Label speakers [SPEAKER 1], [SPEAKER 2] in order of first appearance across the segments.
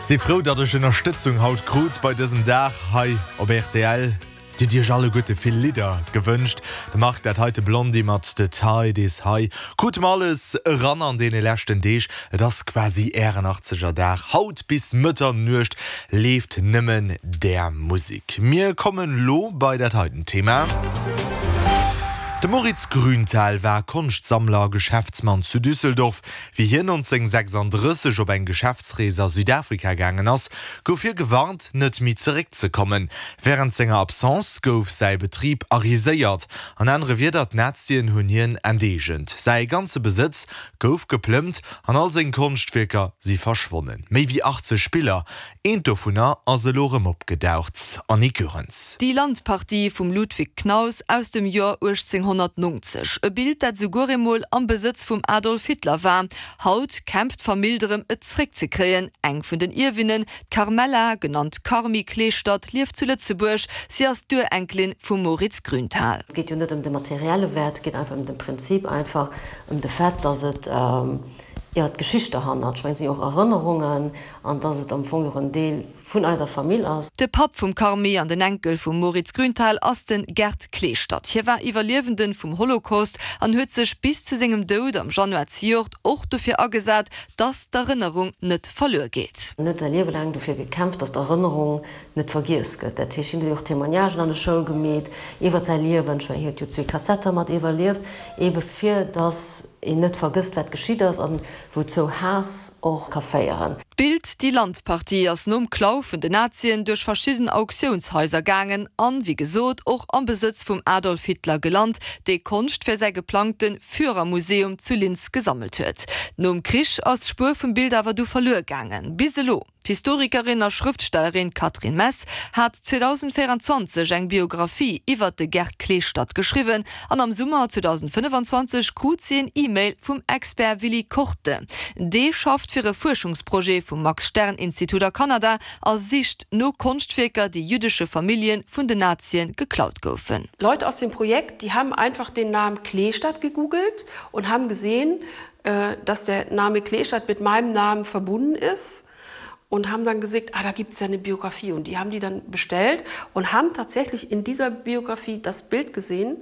[SPEAKER 1] Si frou, datt ech Ënnerstëtzung haut krut bei dësem Dag hei op rtl. Dir hutt Iech alleguerte vill Lidder gewënscht. De Marc, dat heite Blondie mat The Tide Is High krute mer alles eran an deene leschten Deeg. Et ass quasi Ären Achtzeger Dag. Haut bis Mëtternuecht leeft nëmmen där Musek. Mir kommen lo bei dat heiten Thema. De Moritz Grünthal war Konschtsammler a Geschäftsmann zu Düsseldorf. Wéi hien 1936 op eng Geschäftsrees a Südafrika gaangen ass, gouf hie gewarnt, net méi zeréckzekommen. Wärend senger Absence gouf säi Betrib ariséiert, an anere Wierder, d'Nazien hunn hien enteegent. Säi ganze Besëtz gouf geplëmmt an all seng Konschtwierker si verschwonnen. Méi wéi 80 Biller, Eent dovunner ass elo erëm opgedaucht, Annick Goerens.
[SPEAKER 2] Die Landpartie vum Ludwig Knaus aus dem Joer 1890, e Bild, dat esouguer eemol am Besëtz vum Adolf Hitler war. Haut kämpft d'Famill drëm, et zréckzekréien. Eng vun den Ierwinnen, d'Carmela, genannt Carmi Kleeschtert, lieft zu Lëtzebuerg. Si ass d'Urenkelin vum Moritz Grünthal.
[SPEAKER 3] Et geet jo net ëm de materielle Wäert, et geet einfach ëm de Prinzip, einfach ëm de Fait, dass et, jo, d'Geschicht derhannert, ech mengen, et sinn jo och Erënnerungen, An dass et am Fong och en Deel vun eiser Famill ass.
[SPEAKER 2] De Papp vum Carmi an den Enkel vum Moritz Grünthal ass de Gerd Kleestadt. Hie war Iwwerliewenden vum Holocaust an huet sech bis zu sengem Doud am Januar zejoert och dofir agesat, dass d'Erënnerung net verluer geet.
[SPEAKER 3] En huet säi Liewe laang dofir gekämpft, dass d'Erënnerung net vergiess gëtt. Dat heescht, hien huet jo och Témoignagen an der Schoul gemeet iwwert säi Liewen. Ech mengen, hien huet jo zwee Kazetter mat iwwerlieft, eebe fir dass een net vergësst, wat geschitt ass. An Wouzou Haass och ka féieren.
[SPEAKER 2] D'Bild Die Landpartie ass nom Klau vun den Nazien duerch verschidden Auktiounshaiser gaangen an, wéi gesot, och am Besëtz vum Adolf Hitler gelant, dee Konscht fir säi geplangte Führermuseum zu Linz gesammelt huet. Nom Krich ass d'Spuer vum Bild awer du verluer gaangen. Bis elo. D'Historikerin a Schrëftstellerin Catherine Mess hat 2024 eng Biographie iwwert de Gerd Kleestadt geschriwwen an am Summer 2025 krut si en E-Mail vum Expert Willy Korte. Dee schafft fir e Fuerschungsprojet vum Max-Stern-Institut a Kanada a sicht no Konschtwierker, déi jüddesche Famillje vun den Nazien geklaut goufen.
[SPEAKER 4] Leute aus dem Projekt, die haben einfach den Namen Kleestadt gegoogelt und haben gesehen, dass der Name Kleestadt mit meinem Namen verbunden ist und haben dann gesehen, ah, da gibt es ja eine Biografie. Und die haben die dann bestellt und haben tatsächlich in dieser Biografie das Bild gesehen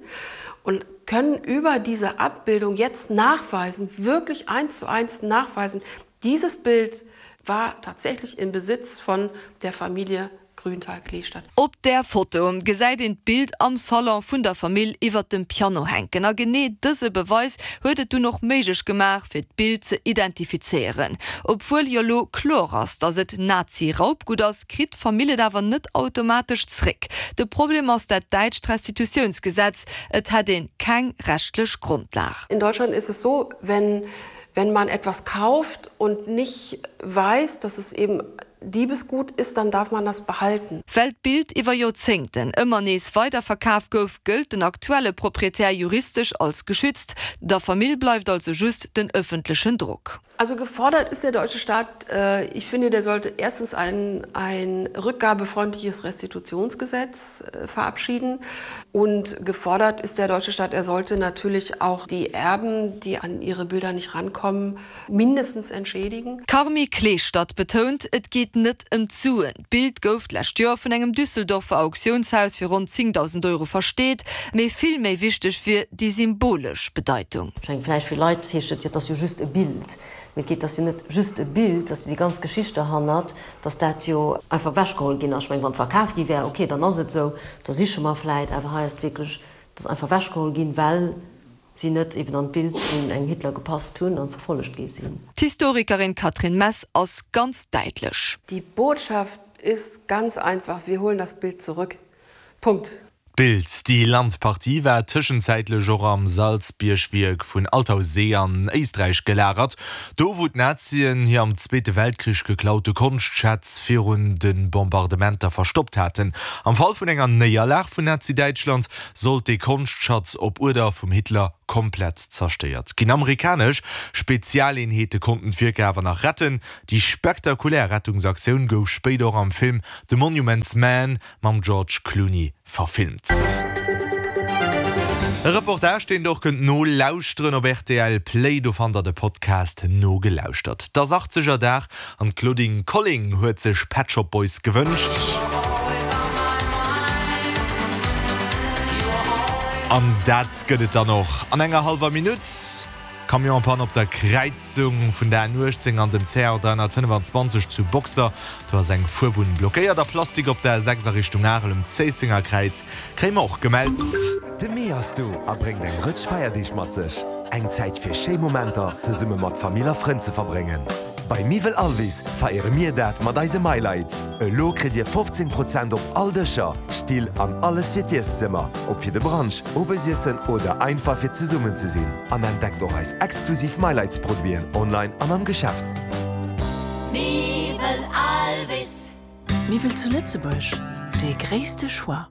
[SPEAKER 4] und können über diese Abbildung jetzt nachweisen, wirklich eins zu eins nachweisen, dieses Bild war tatsächlich im Besitz von der Familie Grünthal-Kleestadt.
[SPEAKER 2] Op där Foto gesäit een d'Bild am Salon vun der Famill iwwert dem Piano hänken. A genee dëse Beweis huet et dunn och méiglech gemaach, fir d'Bild ze identifizéieren. Obwuel jo lo kloer ass, datt et Nazi-Raubgutt ass, kritt d'Famill et awer net automatesch zréck. De Problem ass dat däitscht Restitutiounsgesetz, Et hätt ee keng rechtlech Grondlag.
[SPEAKER 4] In Deutschland ist es so, wenn wenn man etwas kauft und nicht weiß, dass es eben Diebesgut ist, dann darf man das behalten.
[SPEAKER 2] Well d'Bild iwwer Joerzéngten ëmmer nees weiderverkaf gouf, gëllt den aktuelle Proprietär juristesch als geschützt. Der Famill bleift also just den ëffentlechen Drock.
[SPEAKER 4] Also gefordert ist der deutsche Staat, ich finde, der sollte erstens ein ein rückgabefreundliches Restitutionsgesetz verabschieden und gefordert ist der deutsche Staat, er sollte natürlich auch die Erben, die an ihre Bilder nicht rankommen, mindestens entschädigen.
[SPEAKER 2] D'Carmi Kleestadt betount, et geet net ëm d'Suen. D'Bild gouf d'lescht Joer vun engem Düsseldorfer Auktiounshaus fir ronn 10.000 Euro versteet. Mee vill méi wichteg wier déi symbolesch Bedeitung.
[SPEAKER 3] Ech mengen, vläicht fir Leit heescht et jo, et ass jo just e Bild. Mee et geet, et ass jo net just e Bild, et ass jo déi ganz Geschicht derhannert, dass dat jo einfach ewechgeholl ginn ass. Ech mengen, wann et verkaf gi wär, okay, dann ass et esou, da siche mer vläicht. Awer hei ass et wierklech, et ass einfach ewechgeholl ginn, well si net eben an d'Bild vun engem Hitler gepasst hunn an verfollegt gi sinn.
[SPEAKER 2] D'Historikerin Catherine Mess ass ganz däitlech.
[SPEAKER 4] Die Botschaft ist ganz einfach, Wir holen das Bild zurück. Punkt.
[SPEAKER 1] D'Bild Die Landpartie war tëschenzäitlech och am Salzbiergwierk vun Altaussee an Éisträich gelagert, do wou d'Nazien hir am Zweete Weltkrich geklaute Konschtschätz virun de Bombardementer verstoppt haten. Am Fall vun enger Néierlag vun Nazi-Däitschland sollt dee Konschtschatz op Uerder vum Hitler komplett zerstéiert ginn. Amerikanesch Spezialeenheete konnten d'Wierker awer nach retten. Déi spektakulär Rettungsaktioun gouf spéider och am Film The Monuments Men mam George Clooney verfilmt. E Reportage, deen der och kënnt nolauschteren op rtl Play. Do fannt der de Podcast Nogelauschtert. Et ass 80er Dag an d'Claudine Colling huet sech Pet Shop Boys gewënscht. An dat gëtt et dann och an enger hallwer Minutt. Camion-Panne op der Kräizung vun der N18 an dem CR 325 zu Boxer. Do ass eng Fuerbunn blockéiert a Plastik op der A6 a Richtung Arel um Zéissenger Kräiz kréie mer och gemellt.
[SPEAKER 5] De Mee ass do a bréngt eng Rëtsch Feierdeeg mat sech. Eng Zäit fir schéi Momenter zesumme mat Famill a Frënn ze verbréngen. Bei Miwwel Alvis feiere mir dat mat eise Mylights. Elo kritt Dir 15 Prozent op all Dëscher, Still an alles fir d'Ieszëmmer, ob fir de Brunch, Owesiessen oder einfach fir zesummen ze sinn. An entdeckt och eis exklusiv Mylights Produiten online an am Geschäft.
[SPEAKER 6] Miwwel Alvis. Miwwel zu Lëtzebuerg, dee gréisste Choix.